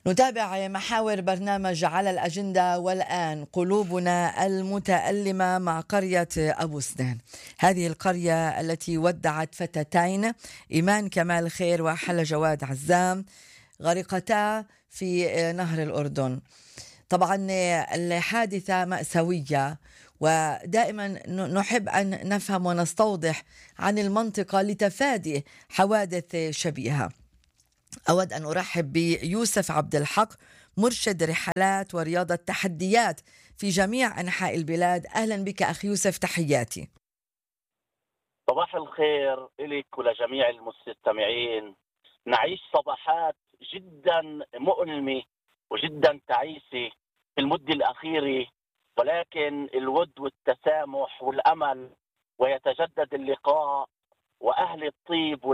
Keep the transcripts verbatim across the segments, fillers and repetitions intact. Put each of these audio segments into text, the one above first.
نتابع محاور برنامج على الأجندة، والآن قلوبنا المتألمة مع قرية أبو سنان. هذه القرية التي ودعت فتاتين إيمان كمال خير وحلا جواد عزام غرقتا في نهر الأردن. طبعا الحادثة مأساوية، ودائما نحب أن نفهم ونستوضح عن المنطقة لتفادي حوادث شبيهة. أود أن أرحب بيوسف عبد الحق، مرشد رحلات ورياضة تحديات في جميع أنحاء البلاد. أهلا بك أخي يوسف، تحياتي. صباح الخير إليك ولجميع المستمعين. نعيش صباحات جدا مؤلمة وجدا تعيسة في المدة الأخيرة، ولكن الود والتسامح والأمل ويتجدد اللقاء، وأهل الطيب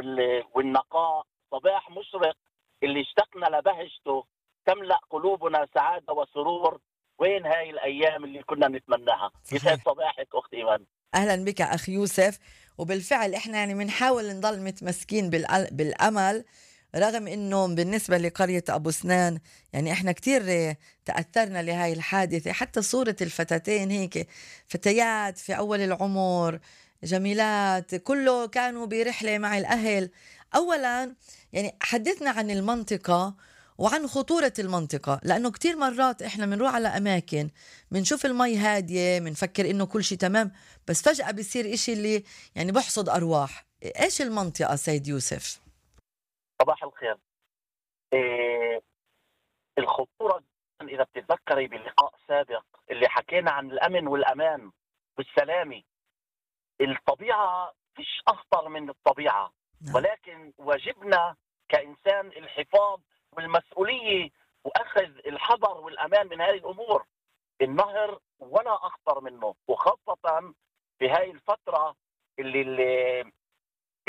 والنقاء. صباح مشرق اللي اشتقنا لبهجته تملأ قلوبنا سعادة وسرور. وين هاي الأيام اللي كنا نتمناها؟ يسعد صباحك أخت إيمان. أهلا بك أخي يوسف. وبالفعل إحنا يعني بنحاول نضل متمسكين بالأمل، رغم إنه بالنسبة لقرية أبو سنان يعني إحنا كتير تأثرنا لهاي الحادثة. حتى صورة الفتاتين هيك فتيات في أول العمر جميلات، كله كانوا برحلة مع الأهل. أولا يعني حدثنا عن المنطقة وعن خطورة المنطقة، لأنه كتير مرات إحنا منروح على أماكن منشوف المي هادية منفكر إنه كل شيء تمام، بس فجأة بيصير إشي اللي يعني بحصد أرواح. إيش المنطقة سيد يوسف؟ صباح الخير. إيه الخطورة إذا بتتذكري بلقاء سابق اللي حكينا عن الأمن والأمان والسلامة، الطبيعة فيش أخطر من الطبيعة، ولكن واجبنا كإنسان الحفاظ والمسؤولية وأخذ الحذر والأمان من هذه الأمور. النهر ولا أخطر منه، وخاصة في هاي الفترة اللي اللي,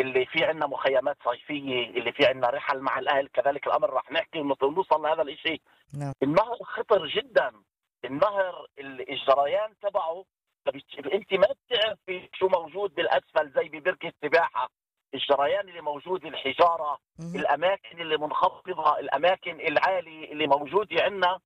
اللي في عنا مخيمات صيفية، اللي في عنا رحل مع الأهل. كذلك الأمر رح نحكي ونوصل لهذا الإشي. نعم. النهر خطر جدا. النهر الجريان تبعه انت ما بتعرفي شو موجود بالاسفل، زي ببركه السباحه. الجريان اللي موجود، الحجاره، م- الاماكن اللي منخفضه، الاماكن العاليه اللي موجوده عندنا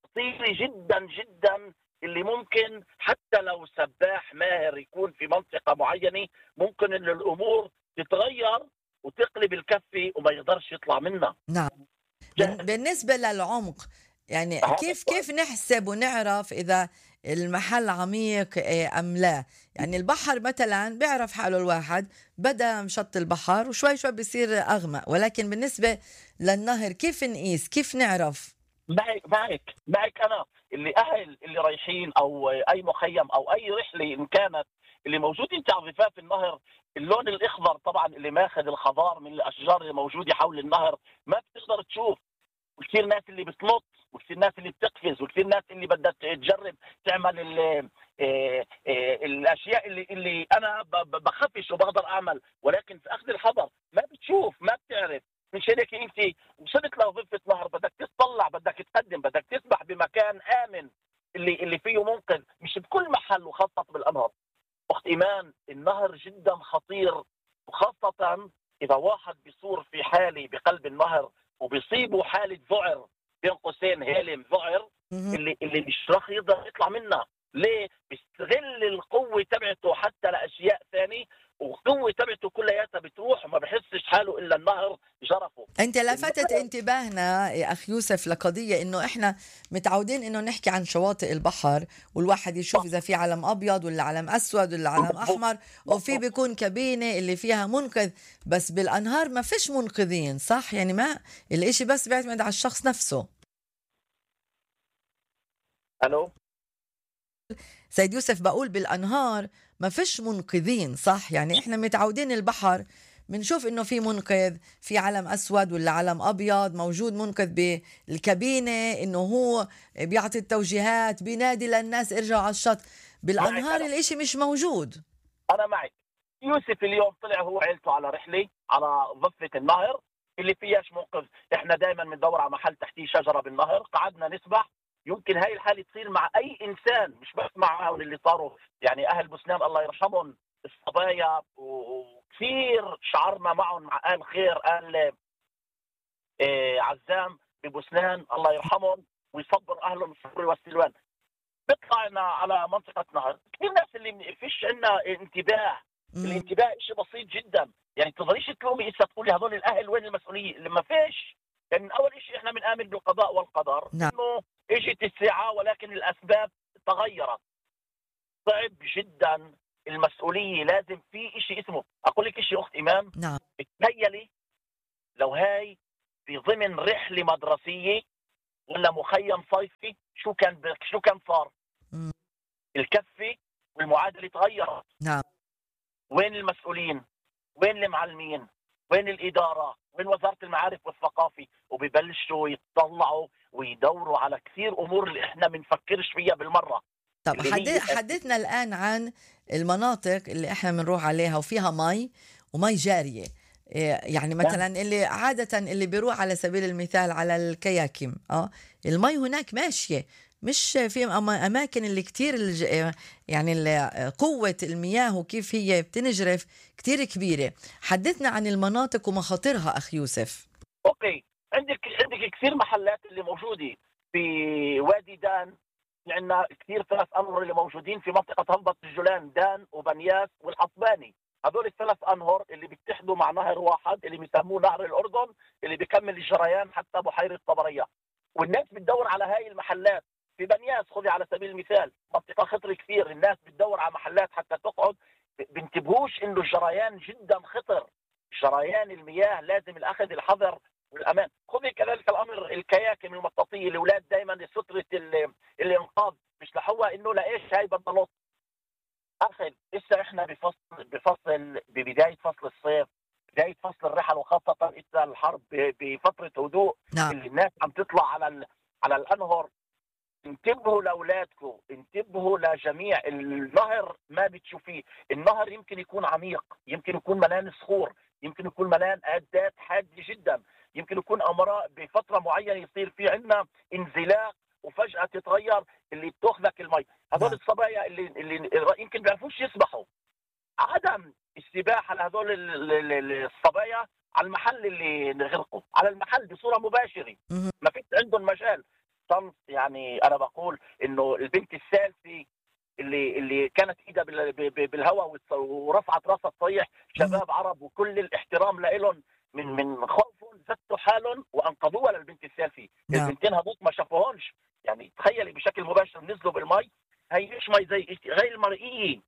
خطيره جدا جدا، اللي ممكن حتى لو سباح ماهر يكون في منطقه معينه ممكن ان الامور تتغير وتقلب الكفه وما يقدرش يطلع منها. نعم. بالنسبه للعمق يعني كيف كيف نحسب ونعرف اذا المحل عميق أم لا؟ يعني البحر مثلا بيعرف حاله الواحد، بدأ مشط البحر وشوي شوي بيصير أغمق، ولكن بالنسبة للنهر كيف نقيس؟ كيف نعرف؟ معك معك معك أنا اللي أهل اللي رايحين أو أي مخيم أو أي رحلة إن كانت، اللي موجودين على ضفاف النهر، اللون الأخضر طبعا اللي ماخذ الخضار من الأشجار اللي موجودة حول النهر ما بتقدر تشوف. وكثير ناس اللي بتنط، وكثير ناس اللي بتقفز، وكثير ناس اللي بدها تجرب تعمل ال ال الاشياء اللي اللي انا بخفش وبقدر اعمل، ولكن في اخذ الحذر ما بتشوف ما بتعرف. مش هيك انت وصلت لضفه نهر بدك تطلع، بدك تقدم، بدك تسبح بمكان امن اللي اللي فيه منقذ، مش بكل محل وخاصه بالانهار. اخت ايمان النهر جدا خطير، وخاصه اذا واحد بيصور في حاله بقلب النهر وبيصيبوا حالة ذعر، بين قوسين هيلم ذعر، اللي اللي مش راح يقدر يطلع منها. ليه؟ بيستغل القوة تبعته حتى لأشياء ثانية، والقوة تبعته كلياتها بتروح وما بحسش حاله إلا النهر جرفه. أنت لفتت انتباهنا يا أخ يوسف لقضية إنه إحنا متعودين إنه نحكي عن شواطئ البحر، والواحد يشوف إذا في علم أبيض ولا علم أسود ولا علم أحمر، وفي بيكون كابينة اللي فيها منقذ، بس بالأنهار ما فيش منقذين، صح؟ يعني ما الإشي بس بيعتمد على الشخص نفسه. ألو سيد يوسف، بقول بالأنهار ما فيش منقذين، صح؟ يعني إحنا متعودين البحر بنشوف إنه في منقذ، في علم أسود ولا علم أبيض، موجود منقذ بالكابينة إنه هو بيعطي التوجيهات، بينادي للناس ارجعوا على الشط. بالأنهار الإشي مش موجود. أنا معك. يوسف اليوم طلع هو عيلته على رحلة على ضفة النهر اللي فيهاش منقذ. إحنا دائما بندور على محل تحتيه شجرة بالنهر، قعدنا نسبح. يمكن هاي الحالة تصير مع أي إنسان، مش بس معهم اللي صاروا يعني أهل بوسنان الله يرحمهم الصبايا، وكثير شعرنا معهم مع آل خير آل إيه عزام ببوسنان الله يرحمهم ويصبر اهلهم الصبر والسلوان. بيطلعنا على منطقه نهر كثير ناس اللي فيش عندنا انتباه. مم. الانتباه شيء بسيط جدا، يعني تقدريش تلومي اسا تقولي هذول الاهل وين المسؤوليه اللي ما فيش. يعني اول شيء احنا بنآمن بالقضاء والقدر، نعم. انه اجت الساعه ولكن الاسباب تغيرت. صعب جدا المسؤوليه، لازم في شيء اسمه، اقول لك شيء اخت ايمان، نعم. تخيلي لو هاي في ضمن رحله مدرسيه ولا مخيم صيفي شو كان ب... شو كان صار؟ مم. الكفه والمعادله تغيرت. نعم. وين المسؤولين؟ وين المعلمين؟ وين الاداره؟ وين وزاره المعارف والثقافه؟ وببلشوا يتطلعوا ويدوروا على كثير امور اللي احنا بنفكرش فيها بالمره. طب اللي حدث هي حدثنا الآن عن المناطق اللي احنا بنروح عليها وفيها مي ومي جارية. إيه، يعني مثلا اللي عادة اللي بيروح على سبيل المثال على الكياكيم، اه المي هناك ماشية، مش في أما- أماكن اللي كتير الج... يعني ال- قوة المياه وكيف هي بتنجرف كتير كبيرة. حدثنا عن المناطق ومخاطرها أخ يوسف. اوكي، عندك عندك كثير محلات اللي موجوده في وادي دان. عندنا كثير ثلاث انهر اللي موجودين في منطقه هضبه الجولان، دان وبنياس والحطباني. هذول الثلاث انهر اللي بيتحدوا مع نهر واحد اللي بيسموه نهر الاردن، اللي بيكمل الجريان حتى بحيره طبريه. والناس بتدور على هاي المحلات. في بنياس خذي على سبيل المثال، منطقه خطر كثير، الناس بتدور على محلات حتى تقعد. بنتبهوش انه الجريان جدا خطر. جريان المياه لازم الاخذ الحذر والامان. خذي كذلك الامر الكياكم المطاطيه، الاولاد دائما ستره ال- الانقاذ بيشلحوها انه لايش هاي بدنا نط. اخي لسه احنا بفصل بفصل ببدايه فصل الصيف، بدايه فصل الرحل، وخاصه إذا الحرب ب- بفتره هدوء نعم. اللي الناس عم تطلع على ال- على الانهر. انتبهوا لاولادكم، انتبهوا لجميع النهر. ما بتشوفيه النهر يمكن يكون عميق، يمكن يكون ملان صخور، يمكن يكون ملان عدات حاده جدا، يمكن يكون امراء بفتره معينه يصير في عندنا انزلاق وفجاه تتغير اللي بتاخذك المي. هذول نعم. الصبايا اللي اللي يمكن بيعرفوش يسبحوا. عدم السباحه لهذول ال- ال- ال- الصبايا على المحل اللي نغرقوا، على المحل بصوره مباشره، مهم. ما فيش عندهم مجال. صمت. يعني انا بقول انه البنت الثالثه اللي اللي كانت ايدها بال- ب- ب- بالهواء والص- ورفعت راسها تصيح، مهم. شباب عرب وكل الاحترام لهم، من من خوفهم زتوا حالهم وانقذوها للبنت الثالثه. نعم. البنتين هذوك ما شافوهمش. يعني تخيلي بشكل مباشر نزلوا بالمي. هي مش مي زي غير المرئيه.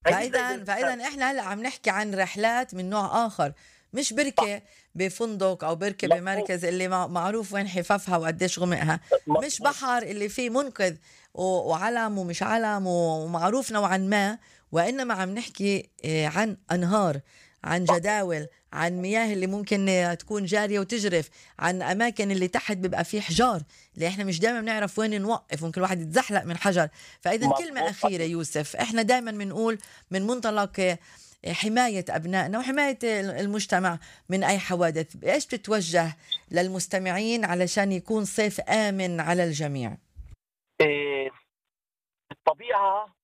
هي مش زي فاذا بالمثال. فاذا احنا هلا عم نحكي عن رحلات من نوع اخر، مش صح. بركه بفندق او بركه مظبوط. بمركز اللي مع- معروف وين حفافها وقديش غمقها، مش مظبوط. بحر اللي فيه منقذ و- وعلم ومش علم ومعروف نوعا ما، وانما عم نحكي آه، عن انهار، عن صح. جداول، عن مياه اللي ممكن آه، تكون جاريه وتجرف، عن اماكن اللي تحت بيبقى فيه حجار اللي احنا مش دائما بنعرف وين نوقف، ممكن الواحد يتزحلق من حجر. فاذا كلمه مظبوط. اخيره يوسف، احنا دائما بنقول من منطلق آه، حماية أبنائنا وحماية المجتمع من أي حوادث، إيش بتتوجه للمستمعين علشان يكون صيف آمن على الجميع؟ إيه، الطبيعه،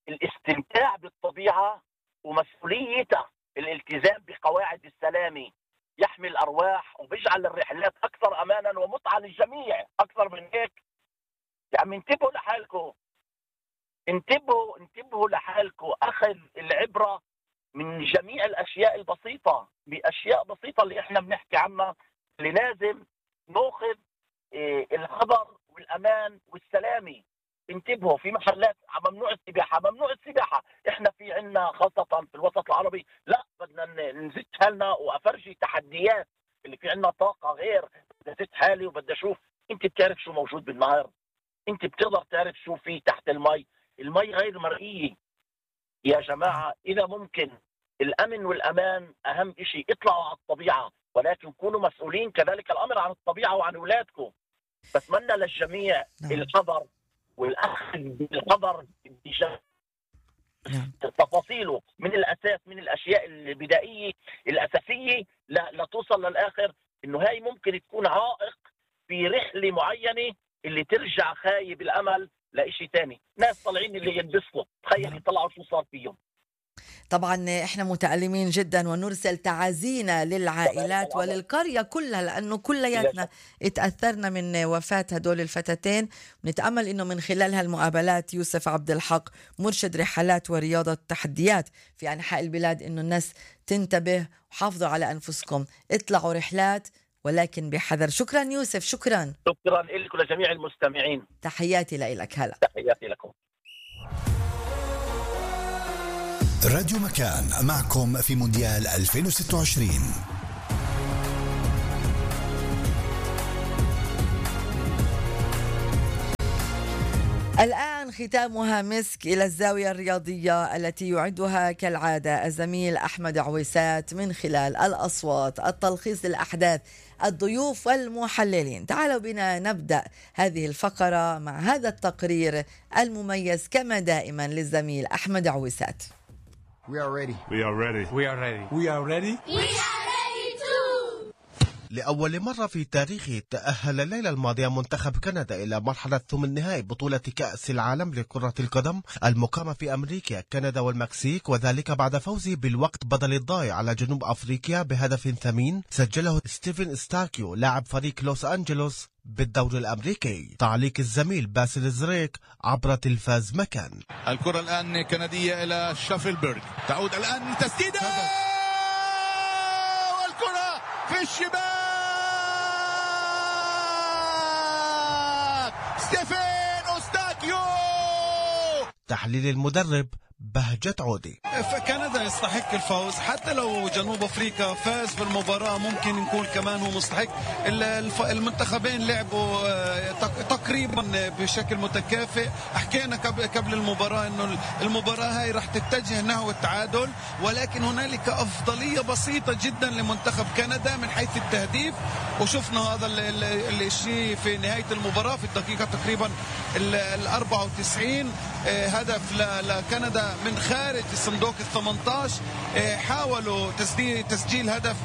الاستمتاع بالطبيعه ومسؤوليتها، الالتزام بقواعد السلامه يحمي الارواح وبيجعل الرحلات اكثر امانا ومتعه للجميع. اكثر من هيك يعني انتبهوا لحالكم، انتبهوا انتبهوا لحالكم. اخذ العبره من جميع الاشياء البسيطه، باشياء بسيطه اللي احنا بنحكي عنها، اللي لازم ناخذ إيه، الحذر والامان والسلامه. انتبهوا، في محلات ممنوع السباحه، ممنوع السباحه. احنا في عندنا خاصه في الوسط العربي، لا بدنا ن- نزت حالنا وافرجي تحديات. اللي في عندنا طاقه غير، بدي ازت حالي وبدي اشوف. انت بتعرف شو موجود بالنهر، انت بتقدر تعرف شو في تحت المي. المي غير مرئيه يا جماعه. اذا ممكن الامن والامان اهم شيء. اطلعوا على الطبيعه، ولكن كونوا مسؤولين كذلك الامر عن الطبيعه وعن اولادكم. بتمنى للجميع نعم. الحذر والاخذ بالحذر بجد. نعم. تفاصيله من الاساس، من الاشياء البدائيه الاساسيه لا, لا توصل للاخر. انه هاي ممكن تكون عائق في رحله معينه اللي ترجع خايب الامل لشيء ثاني. ناس طالعين اللي ينبسطوا، تخيل نعم. يطلعوا شو صار فيهم. طبعا احنا متألمين جدا ونرسل تعازينا للعائلات وللقرية كلها، لأنه كلياتنا اتأثرنا من وفاة هدول الفتاتين. ونتأمل أنه من خلال هالمقابلات يوسف عبد الحق مرشد رحلات ورياضة تحديات في أنحاء البلاد أنه الناس تنتبه وحافظوا على أنفسكم، اطلعوا رحلات ولكن بحذر. شكرا يوسف. شكرا شكرا لكم لجميع المستمعين. تحياتي لك. هلا تحياتي لكم. راديو مكان معكم في مونديال ألفين وستة وعشرين. الآن ختامها مسك إلى الزاوية الرياضية التي يعدها كالعادة الزميل أحمد عويسات من خلال الأصوات، التلخيص للأحداث، الضيوف والمحللين. تعالوا بنا نبدأ هذه الفقرة مع هذا التقرير المميز كما دائما للزميل أحمد عويسات. We are ready. We are ready. We are ready. We are ready. We are ready too. لأول مرة في تاريخه تأهل الليلة الماضية منتخب كندا إلى مرحلة ثمن النهائي بطولة كأس العالم لكرة القدم المقامة في أمريكا، كندا والمكسيك، وذلك بعد فوزه بالوقت بدل الضايع على جنوب أفريقيا بهدف ثمين سجله ستيفن ستاكيو لاعب فريق لوس أنجلوس بالدوري الأمريكي. تعليق الزميل باسل زريك عبر تلفاز مكان. الكرة الآن كندية إلى شافلبرغ، تعود الآن لتسديدة والكرة في الشباك. ستيفن ستاكيو. تحليل المدرب بهجة عودي. فكندا يستحق الفوز، حتى لو جنوب افريقيا فاز بالمباراة ممكن نكون كمان هو مستحق. المنتخبين لعبوا تقريبا بشكل متكافئ. حكينا قبل المباراة انه المباراة هاي راح تتجه نحو التعادل، ولكن هنالك افضلية بسيطة جدا لمنتخب كندا من حيث التهديف، وشفنا هذا الشيء في نهاية المباراة في الدقيقة تقريبا ال أربعة وتسعين. هدف لكندا من خارج الصندوق الثمانية عشر. حاولوا تسجيل هدف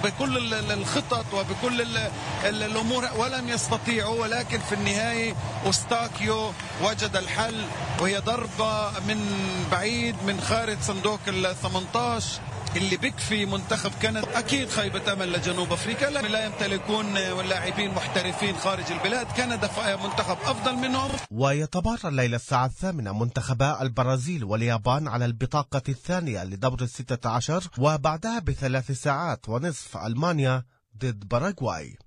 بكل الخطط وبكل الأمور ولم يستطيعوا، ولكن في النهاية أوستاكيو وجد الحل، وهي ضربة من بعيد من خارج صندوق الثمانية عشر اللي بكفي منتخب كندا. أكيد خيبة أمل لجنوب أفريقيا، لا يمتلكون لاعبين محترفين خارج البلاد. كندا منتخب أفضل منهم. ويتبارى الليلة الساعة الثامنة منتخبا البرازيل واليابان على البطاقة الثانية لدور الستة عشر، وبعدها بثلاث ساعات ونصف ألمانيا ضد باراغواي.